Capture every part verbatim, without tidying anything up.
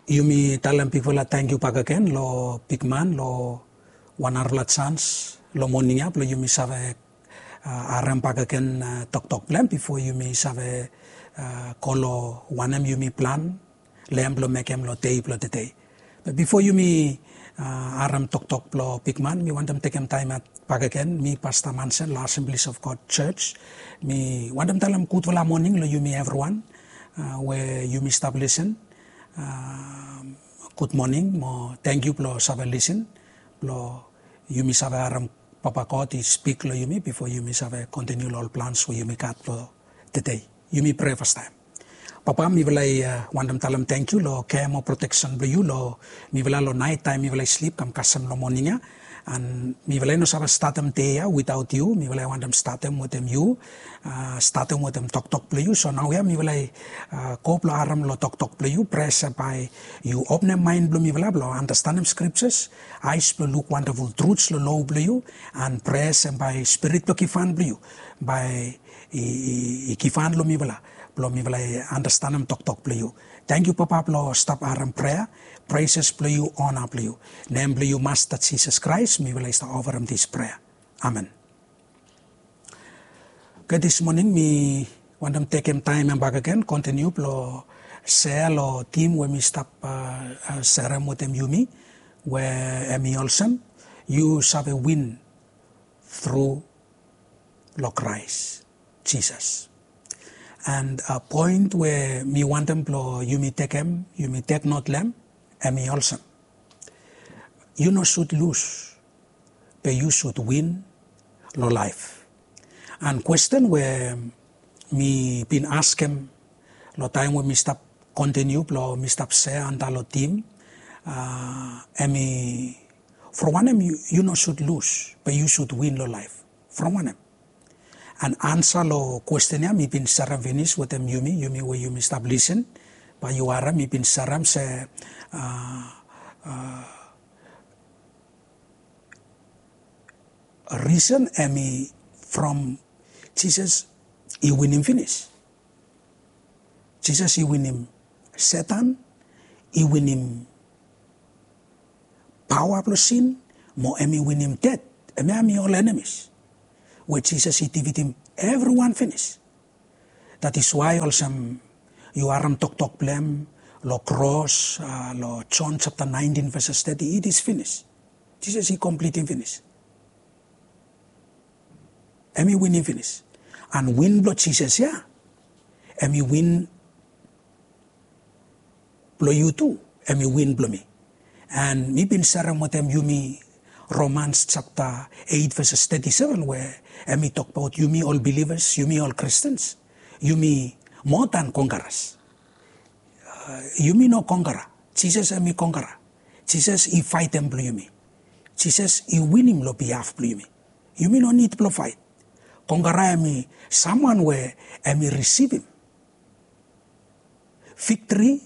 Yumi talem bigfala tangkiu bakegen lo bigman lo wan narafala jans lo moning ya blo yumi save harem bakegen toktok blo hem bifo yumi save go lo wanem yumi plan lo hem blo mekem lo dei blo tedei. Be bifo yumi harem toktok blo bigman, mi wantem tekem taem ya bakegen, mi Pasta Mansen lo Assemblies of God Church. Mi wantem talem gudfala moning lo yumi evriwan we yumi stap lisen. Gud moning mo tangkiu blo save lisen, blo yumi save harem Papa God i spik lo yumi bifo yumi save kontiniu lo ol plans we yumi gat blo tedei. Yumi prea fastaem. Papa, mifala i wantem talem tangkiu lo kea mo proteksen blo yu lo mifala lo naet taem mifala i slip kam kasem lo moning ya. An mifala i no save statem dei ya witaot yu. Mifala i wantem statem wetem yu, statem wetem toktok blo yu. So naoia mifala i go blo harem lo toktok blo yu. Prea se bae yu openem maen blo mifala blo andastanem skriptas, aes blo luk wandaful truts lo lo blo yu. An prea se bae Spirit blo givhan blo yu bae i givhan lo mifala blo mifala i andastanem toktok blo yu. Tangkiu Papa blo stap harem prea. Preses blo yu, ona blo yu. Nem blo yu Masta Jisas Kraes mifala i stap ofarem dis prea. Amen. Oke, dis moning mi wantem tekem taem ya bakegen kontiniu blo sea lo tim we mi stap serem wetem yumi, we hem i olsem, yu save win tru lo Kraes Jisas. An poen we mi wantem blo yumi tekem, yumi teknot lo hem, hem i olsem, yu no sud lus, be yu sud win lo laef. An kwesten we mi bin askem lo taem we mi stap kontiniu blo mi stap sea antap lo tim, hem i, from wanem yu no sud lus be yu sud win lo laef? From wanem? An ansa lo kwesten ya mi bin serem finis wetem yumi, yumi we yumi stap lisen. Bae yu harem mi bin serem se risen hem i from Jisas i winim finis. Jisas i winim Setan, i winim paoa blo sin, mo hem i winim ded. Hemia hem i ol enemis we Jisas i difitim evriwan finis. That is why olsem yu harem toktok blo hem lo kros lo Jon japta naentin veses teti, it is finis. Jisas i komplitim finis. Hem i winim finis. An win blo Jisas ya hem i win blo yu tu, hem i win blo mi. An mi bin serem wetem yumi Romans japta eit veses teti seven we hem i tokbaot yumi ol bilivas, yumi ol Kristens, yumi moa dan kongkaras. Yumi no kongkara. Jisas hem i kongkara. Jisas i faetem blo yumi. Jisas i winim lo bihaf blo yumi. Yumi no nid blo faet. Kongkara hem i samwan we hem i risivim viktri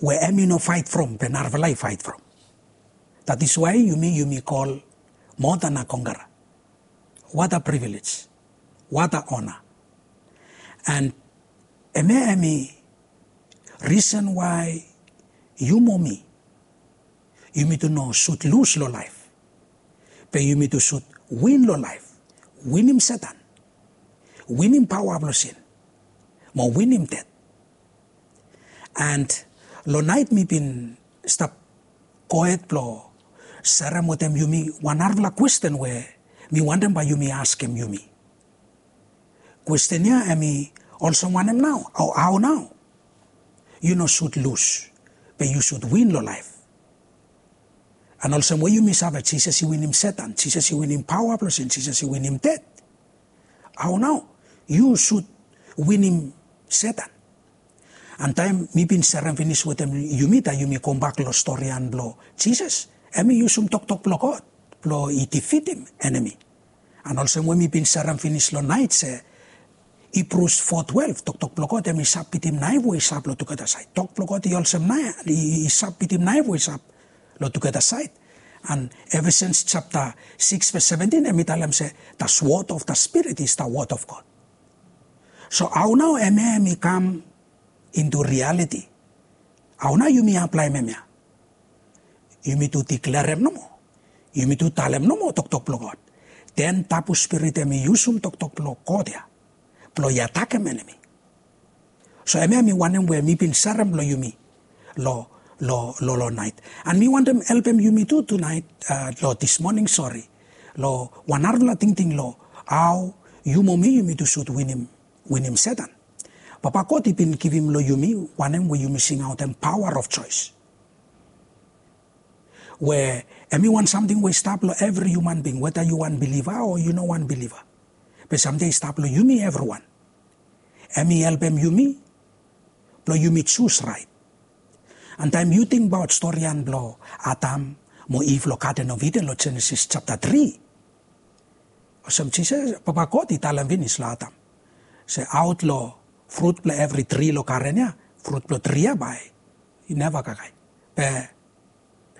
we hem i no faet from be narafala i faet from. That is why yumi, yumi kol moa dan a kongkara. What a privilege. What a honor. An hemia hem i risen why yu mo mi yumi tu no sud lus lo laef, be yumi tu sud win lo laef. Winim Setan, winim paoa blo sin, mo winim ded. An lo naet mi bin stap gohed blo serem wetem yumi wan narafala kwesten we mi wantem bae yumi askem yumi. Kwesten ya hem i olsem wanem nao? O hao nao yu no sud lus be yu sud win lo laef? An olsem we yumi save, Jisas i winim Setan, Jisas i winim paoa blo sin, Jisas i winim ded. Hao nao yu sud winim Setan? An taem mi bin serem finis wetem yumi, taem yumi gombak lo storian blo Jisas, hem i yusum toktok blo God blo i difitim enemi. An olsem we mi bin serem finis lo naet se Hibrus fo twelef, toktok blo God hem i sap bitim naef we i sap lo tugeta saed. Tok blo God i olsem naef, i sap bitim naef we i sap lo tugeta saed. An Ephesians japta sikis ves seventin hem i talem se the sword of the Spirit is the word of God. So hao nao hemia hem i kam into reality. Hao nao yumi aplaem hemia? Yumi tu diklerem nomo. Yumi tu talem nomo toktok blong God. Den tabu spirit hem i yusum toktok blong God ya blong i atakem enemi. So hemia mi wanem we mi bin serem long yumi long long long long naet. And mi wantem helpem yumi tu tunaet, long this morning, sori, long wan narafala tingting long hao yu mo mi yumi tu sud winim winim Setan. Papa God i bin givim long yumi wanem we yumi singaotem power of choice. We hem i wan samting we i stap long evri human bing, weta yu wan biliva o yu no wan biliva. Be samting i stap long yumi evriwan. Hem i helpem yumi blong yumi jus raet. And taem yu tingbaot storian blong Adam mo Iv long Garden of Eden long Jenesis japta tri, olsem Jisas, Papa God i talem finis long Adam se aot long frut blong evri tri long garen ya, frut blong tri ya bae i neva kakae. Be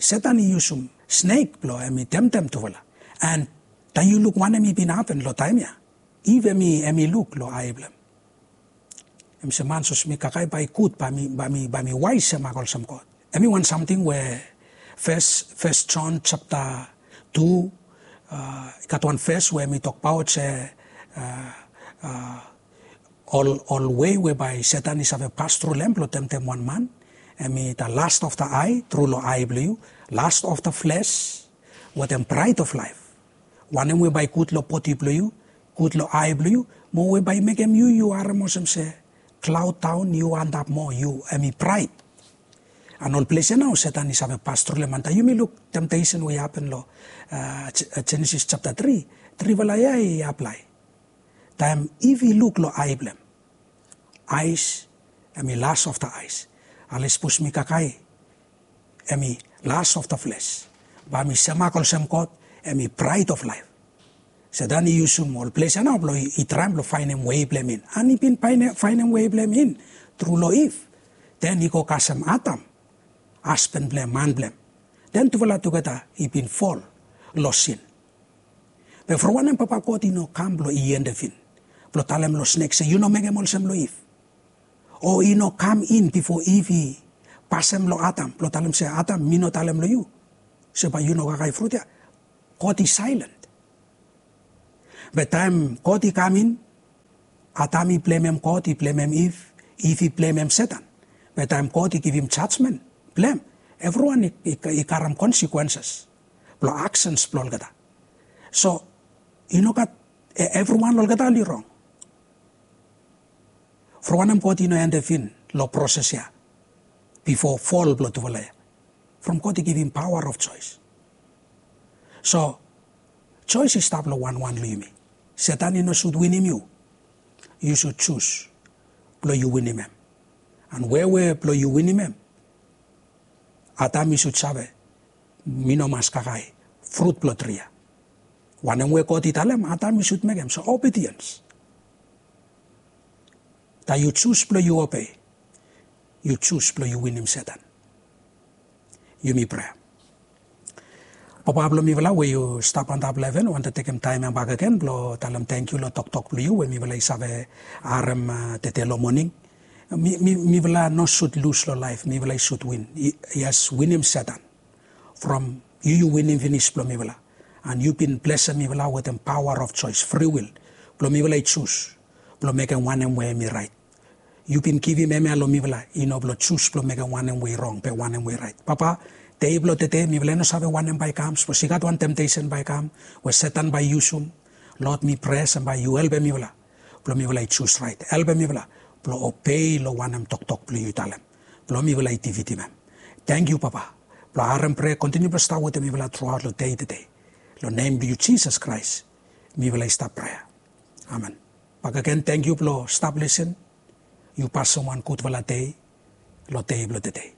Setan i yusum snek blong hem i temtem tufala. And taem yu luk wanem i bin hapen long taem ya, Iv hem i hem i luk long ae blong hem. Hem se man sapos mi kakae bae i gud, bae mi bae mi bae mi waes semak olsem God. Hem i wan samting we fes fes Jon japta tu, i gat wan fes we hem i tokbaot se ol ol wei we bae Setan i save pas tru long hem blong temtem wan man. Hem i the lust of the eye, tru long ae blong yu, lust of the flesh, wetem pride of life. Wanem we bae i gud long bodi blong yu, gud long ae blong yu, mo we bae i mekem yu yu harem olsem se klaod daon, yu antap moa, yu hem i praed. And ol ples ya nao Setan i save pas tru long hem. And taem yumi luk temptesen we i hapen long Jenesis japta tri, trifala ya i aplae. Taem Iv i luk long ae blong hem, aes, hem i lust of the eyes. Ale sapos mi kakae, hem i lust of the flesh, bae mi semak olsem God, hem i pride of life. Setan i yusum ol ples ya nao blong i traem blong faenem wei blong hem in. And i bin faenem wei blong hem in tru long Iv. Den i go kasem Adam, hasban blong hem, man blong hem. Den tufala tugeta i bin fol long sin. Be from wanem Papa God i no kam blong i endefin, blong talem long snek se yu no mekem olsem long Iv? O i no kam in bifo Iv i pasem long Adam blong talem se, Adam, mi no talem long yu se bae yu no kakae frut ya? God i saelen. Be taem God i kam in, Adam i blemem God, i blemem Iv, Iv i blemem Setan. Be taem God i givim jajmen blong hem, evriwan i karem consequences blong aksens blong olgeta. So i no gat, evriwan long olgeta oli rong. From wanem God i no endefin long proses ya bifo fol blong tufala ya? From God i givim power of choice. So choice i stap long wanwan long yumi. Setan i no sud winim yu. Yu sud jus blong yu winim hem. And wewe blong yu winim hem, Adam i sud save, mi no mas kakae frut blong tri ya. Wanem we God i talem, Adam i sud mekem. So obedience. Taem yu jus blong yu obei, yu jus blong yu winim Setan. Yumi prea. Papa blong mifala we yu stap antap long heven, wantem tekem taem ya bakegen blong talem tangkiu long toktok blong yu we mifala i save harem tede long moning. Mifala no sud lus long laef, mifala i sud win. Yes, winim Setan. From yu yu winim finis blong mifala. And yu bin blesem mifala wetem power of choice, free will, blong mifala i jus blong mekem wanem we hem i raet. Yu bin givim hemia long mifala, i no blong jus blong mekem wanem we i rong be wanem we i raet. Papa, dei blong tede mifala i no save wanem bae i kam, sapos i gat wan temptesen bae i kam we Setan bae i yusum, Lord, mi prea se bae yu helpem mifala blong mifala i jus raet. Helpem mifala blong obei long wanem toktok blong yu i talem, blong mifala i difitim hem. Tangkiu Papa blong harem prea, kontiniu blong stap wetem mifala truaot long dei tede. Long nem blong yu Jisas Kraes mifala i stap prea. Amen. Bakegen tangkiu blong stap lisin. Yu pasem wan gudfala dei long dei blong tede.